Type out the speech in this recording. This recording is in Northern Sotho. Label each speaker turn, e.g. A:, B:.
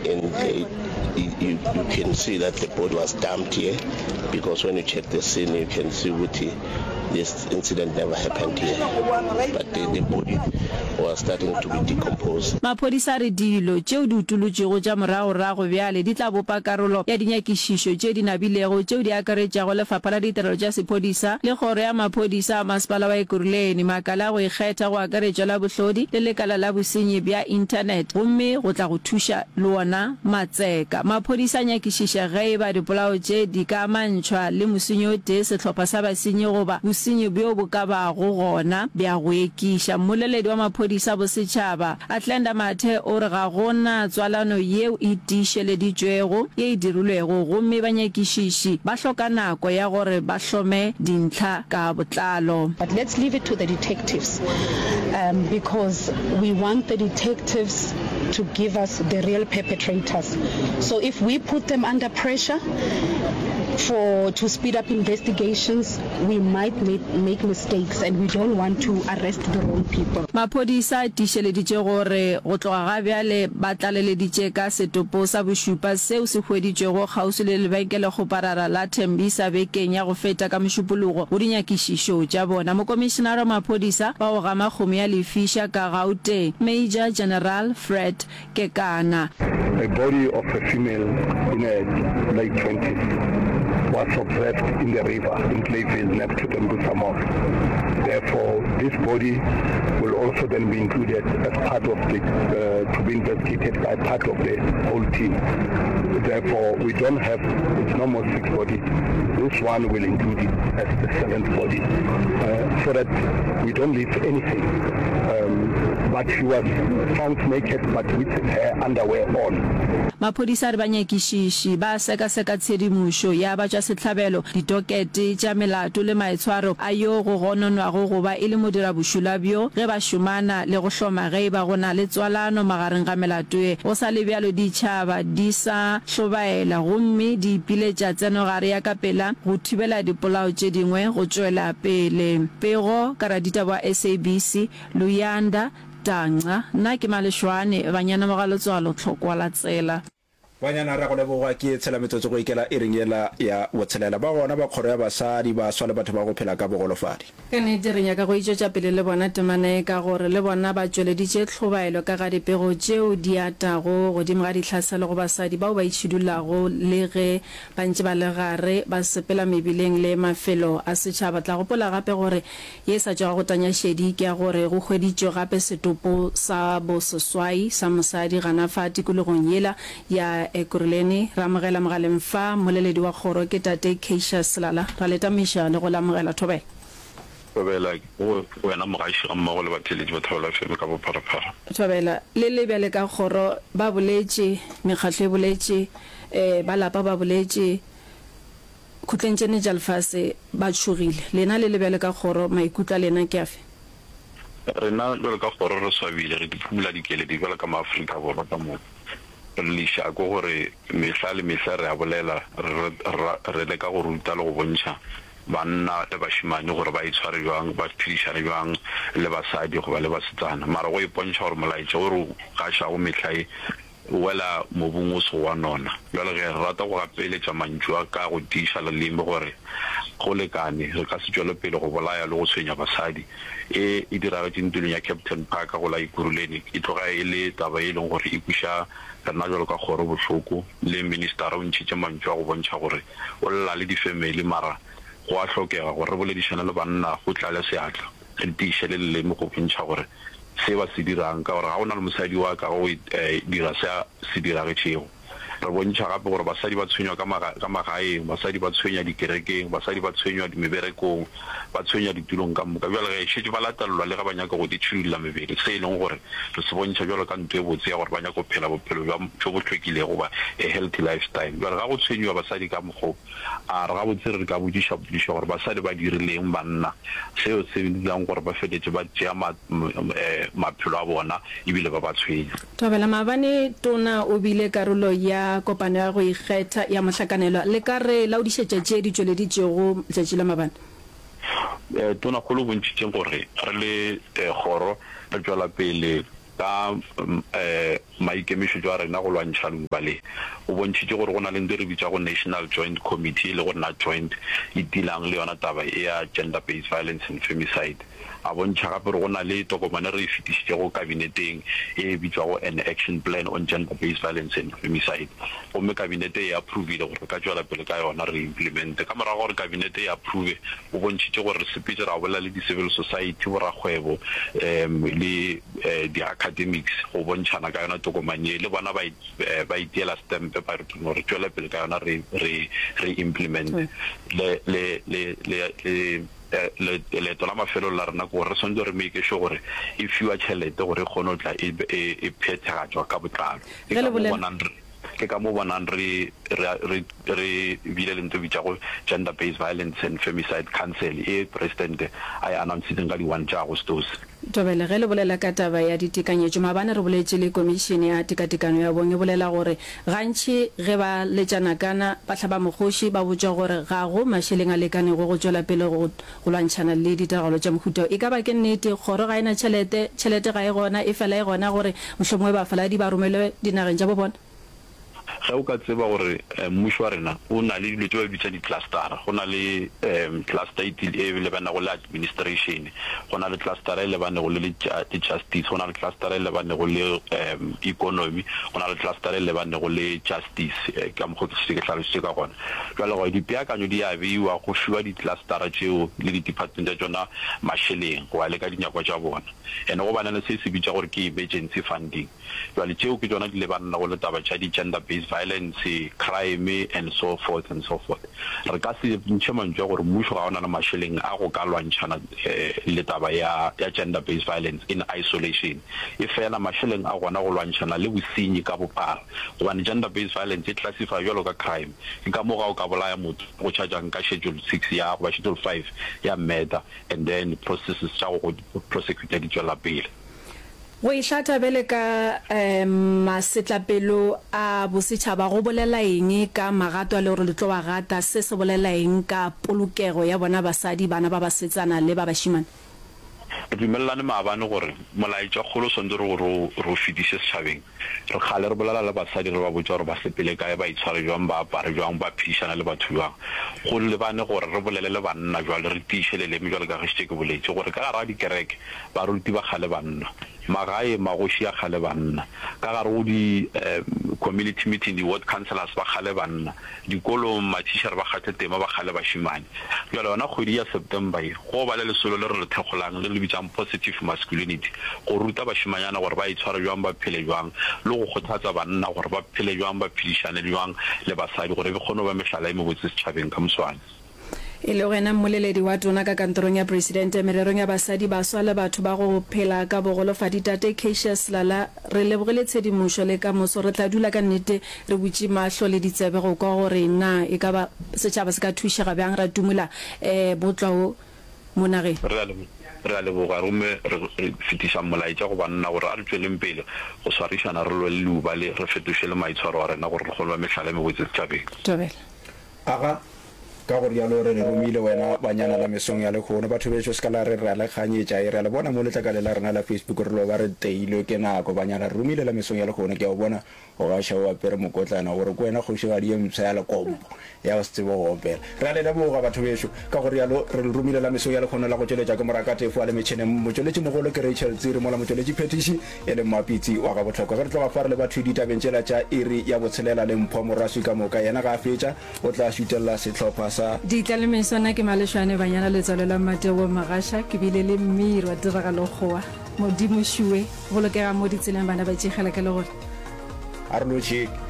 A: And you, you, you can see that the body was dumped here because when you check the scene you can see ukuthi this incident never happened here but the, the body was starting to be decomposed.
B: Maphodisa a re dilo tšeo di utolotšwego tša moragorago bjale di tla bopa karolo ya dinyakišišo tše di nabilego tšeo di akaretšago Lefapha la Ditirelo tša Sephodisa le Kgoro ya Maphodisa a Masepala wa Ekurhuleni, makala a go ikgetha go akaretšwa la Bohlodi le Lekala la Bosenyi bja Inthanete gomme go tla go thuša le wona matseka. Maphodisa a nyakišiša ge e ba dipolao tše di ka amantšhwa le mosenyi o tee, sehlopha sa basenyi goba bosenyi bjo bo ka bago gona bja go ekiša. Mmoleledi wa maphodisa a bosetšhaba, Athlenda Mathe o re ga go na tswalano yeo e tiišeleditšwego ye e dirilwego gomme banyakišiši ba hloka nako ya gore ba hlome dintlha ka botlalo.
C: But let's leave it to the detectives because we want the detectives to give us the real perpetrators. So if we put them under pressure for to speed up investigations, we might make, make mistakes and we don't want to arrest the wrong people.
B: Maphodisa a tiišeleditše gore go tloga ga bjale ba tlaleleditše ka setopo sa bošupa seo se hweditšwego kgauswi le lebenkelekgoparara la Tembisa bekeng ya go feta ka Mošupologo go dinyakišišo tša bona. Mokomišenara wa maphodisa wa go gama kgomo ya lefiša ka Gauteng, Major General Fred Kekana.
D: A body of a female in her late twenties was observed in the river in Clayville next to Tembisa Mall. Therefore, this body will also then be included as part of the, uh, to be investigated by part of the whole team. Therefore, we don't have, it's no more six bodies. This one will include it as the seventh body, uh, so that we don't leave anything. Um, but she was found naked but with her underwear on.
B: Maphodisa a re banyakišiši ba sekaseka tshedimošo ya batšwasehlabelo, ditokete tša melato le maitshwaro a yo go gononwago go ba e le modirabošula bjo ge ba šomana le go hloma ge e ba go na le tswalano magareng ga melato ye. Go sa le bjalo, ditšhaba di sa hlobaela gomme di ipiletša tsenogare ya ka pela go thibela dipolao tše dingwe go tšwela pele. Pego ka raditaba wa SABC, Luyanda Tangca, Nna ke Maleshwane, Banyana Mogalotswalo, Tlhokwa la Tsela.
E: Banyana, Ra go leboga, ke tshela metsotso go ikela iring yela ya botshelela. Ba gona ba kgoro ya basadi, baswa le batho ba go phela ka bogolofadi.
B: Ka nnete re nyaka go itšwetša pele le bona temana ye ka gore le bona ba tšweleditše tlhobaelo ka ga dipego tšeo di atago godimo ga ditlhaselo go basadi bao ba itšhidullago le ge ba ntše ba le gare ba sepela mebileng le mafelo a setšhaba. Tla gopola gape gore Ye e sa tšwago go tanya šedi ke ya gore go hweditšwe gape setopo sa boseswai sa mosadi gana fa tikologong yela ya Ekurhuleni. Re amogela mogaleng fa mmoleledi wa kgoro ke Tate Cassius Selala. Ra le tamiša le go le amogela. Thobela.
F: Thobela go wena mogaši gammogo le batheeletši ba Thobela FM ka bopharaphara.
B: Thobela, Le le bjale ka kgoro ba boletše, mekgatlo e boletše, ba lapa ba boletše, Khutleng tše ne tša lefase ba tšhogile. Lena le le bjalo ka kgoro, maikutlo a lena ke afe?
F: Rena bjalo ka kgoro re swabile, re di phumula dikeledi bjalo ka maAfrika Borwa ka moka. Re lešako gore mehla le mehla re a bolela, re, re, re leka go ruta le go bontšha banna le bašemane gore ba itshware bjang, ba phedišane bjang le basadi goba le basetsana. Mara go ipontšha gore molaetša wo re o gašago mehla ye O wela mobung o sego wa nona. Bjale ge, re rata go gapeletša mantšu a ka go tiiša leleme gore go lekane, re ka se tšwele pele go bolaya le go tshwenya basadi. E e diragetše ntulong ya Kempton Park go la Ekurhuleni e tloga e le taba ye e leng gore e kweša rena bjalo ka kgoro bohloko. Le ministara o ntšhitše mantšu a go bontšha gore o lla le difemeli mara go a hlokega gore re boledišane le banna go tlale seatla, re tiiše le leleme go bontšha gore se ba se dirang, ka gore ga go na le mosadi yo a kago go dira se a se diragetšego. Re bontšha gape gore basadi ba tshwenywa ka ka magaeng, basadi ba tshwenywa dikerekeng, basadi ba tshwenywa meberekong, ba tshwenywa ditulong ka moka. Bjale ge, šetše ba latelelwa le ge ba nyaka go itšhidulla mebele, se e leng gore re se bontšha bjalo ka nto e botse ya gore ba nyaka go phela bophelo bja bjo bo hlwekilego goba a healthy lifestyle. Bjale ga go tshwenyiwa basadi ka mokgwa wo, A re gabotse re ka botšiša potšišo gore basadi ba dirileng banna, seo se dirang gore ba feletše ba tšea maphelo a bona ebile ba ba tshwenya.
B: Thobela, Maabane Tona o bile karolo ya kopano ya go ikgetha ya mohlakanelwa. Le ka re laodišetša tše di tšweleditšwego letšatši la maabane?
F: Tonakgolo o bontšhitše gore re le kgoro re tšwela pele ka. Maikemišetšo a rena go lwantšha leuba le. O bontšhitše gore go na le ntho e re bitšago National Joint Committee e lego NatJoint e dealang le yona taba e ya Gender Based Violence and Femicide. A bontšha gape gore go na le tokomane re e fetišitšego Kabineteng e bitšwago An Action Plan on Gender Based Violence and Femicide gomme Kabinete e approvile gore re ka tšwela pele ka yona re e implemente. Ka morago ga gore Kabinete e approve, o bontšhitše gore re sepetše ra bolela le di-civil society, borakgwebo le di-academics go bontšhana ka yona tokomane ye, le bona ba ba itiela stempe ba re no re tšwele pele ka yona re re re implemente. Le le le le le leeto la mafelelo la rena ke gore re swanetše re make sure gore e fiwa tšhelete gore e kgone go tla e e phethagatšwa ka botlalo. Ke
B: Ge
F: ka
B: le
F: mo
B: bolela.
F: bonang re ke ka mo bonang re re re re bile le ntho e bitšago Gender Based Violence and Femicide Council e Presidente a e announcitseng ka di one tša Agostose.
B: Thobela, ge le bolela ka taba ya ditekanyetšo, maabane re boletše le Komišene ya Tekatekano ya Bong e bolela gore gantši ge ba letša nakana ba hlaba mokgoši ba botšwa gore ga go mašeleng a lekanego go tšwela pele go go lwantšhana le ditiragalo tša mohuta wo. E ka ba ke nnete? Kgoro ga e na tšhelete, tšhelete ga e gona, efela e gona gore mohlomongwe bafaladi ba romelwe dinageng tša bo bona.
F: Ge o ka tseba gore mmušo wa rena o na le dilo tše ba di bitšang di-cluster-a, go na le cluster e e lebanego le administration, go na le cluster-a e lebanego le le justice, go na le cluster-a e lebanego le economy, go na le cluster-a e lebanego le justice, ka mokgo ke šetše ke hlalositše ka gona. Bjale gore dipeakanyo di a beiwa, go fiwa di-cluster-a tšeo le di-department tša tšona mašeleng go ya le ka dinyakwa tša bona. And go ba na le se se bitša gore ke emergency funding. Bjale tšeo ke tšona di lebanago le taba tša di gender based violence, crime and so forth and so forth. Re ka se ntšhe mantšu a gore mmušo ga o na le mašeleng a go ka lwantšhana le taba ya ya gender based violence in isolation. Efela mašeleng a gona go lwantšhana le bosenyi ka bophara gobane gender based violence e classify bjalo ka crime. Ke ka moo ga o ka bolaya motho go charge-ang ka schedule six ya goba schedule five ya murder and then processes tša go go prosecutor di tšwela pele.
B: Go ihlatha bjale ka masetlapelo a bosetšhaba go bolela eng ka magato a le gore le tlo a gata? Se se bolela eng ka polokego ya bona basadi, bana ba basetsana le ba bašemane?
F: Re dumelelane maabane gore molaetšakgolo o swanetše re gore re o fetiše setšhabeng. Re kgale re bolela le basadi re ba botša gore ba sepele kae, ba itshware bjang, ba apare bjang, ba phedišane le batho bjang. Go lebane gore re bolele le banna bjale, re tiiše leleme bjalo ka ge šetše ke boletše gore ka gare ga dikereke Baruti ba kgale banna. Magae, magoši a kgale banna. Ka gare go di community meeting, di ward councillors ba kgale banna. Dikolong, mathišere ba kgathe tema ba kgale bašemane. Bjale yona kgwedi ya September ye, go ba le lesolo le re le thekgolang le re le bitšang Positive Masculinity, go ruta bašemanyana gore ba itshware bjang, ba phele bjang, le go kgothatsa banna gore ba phele bjang, ba phedišane bjang le basadi gore e kgone go ba mehlala e mebotse setšhabeng ka moswane.
B: E lego yena mmoleledi wa tona ka kantorong ya Presidente mererong ya basadi, baswa le batho ba go phela ka bogolofadi Tate Cassius Lala, re lebogile tshedimošo le ka moso re tla dula ka nnete re butše mahlo le ditsebe go kwa gore na e ka ba setšhaba se ka thušega bjang ra tumola botlwa wo mo nageng.
F: Re a Re a leboga gomme re fetiša molaetša go banna gore a re tšweleng pele go swarišana re lwe le leuba le, re fetoše le maitshwaro a rena gore re kgone ba mehlala e mebotse setšhabeng.
B: Thobela.
E: Aga, ka go rialo re le romile wena banyana la mesong ya lehono. Batho bešo, se ka la re re a le kganyetša. E, re a le bona mo letlakaleng la rena la Facebook, re loba re teilwe ke nako. Banyana, re romile la mesong ya lehono. Ke a o bona o gaša o apere mokotlana, o re ke wena kgošigadi ye mpsha ya lekompo ya go se tsebe go opela. Re a le leboga, batho bešo. Ka go rialo re le romile la mesong ya lehono la go tšweletša ke Moraka Tefo a le metšheneng. Motšweletšimogolo ke Rachel Tsiri, mola motšweletšiphethiši e le Mmapitsi wa gabohlokwa. Ge re tloga fa re leba thwi ditabeng tšela tša iri ya botshelela le Mpho Moraswi ka moka. Yena ga a fetša o tla šutelela sehlopha sa.
B: Ditla le meso nna ke Malešwane Banyana Letswalo la Mmatebogo Magasha ke bile le mmiri wa tiragalo kgowa Modimo šuwe bolokegang mo ditseleng bana ba tšegela ke le gore.
E: A re lotšheng.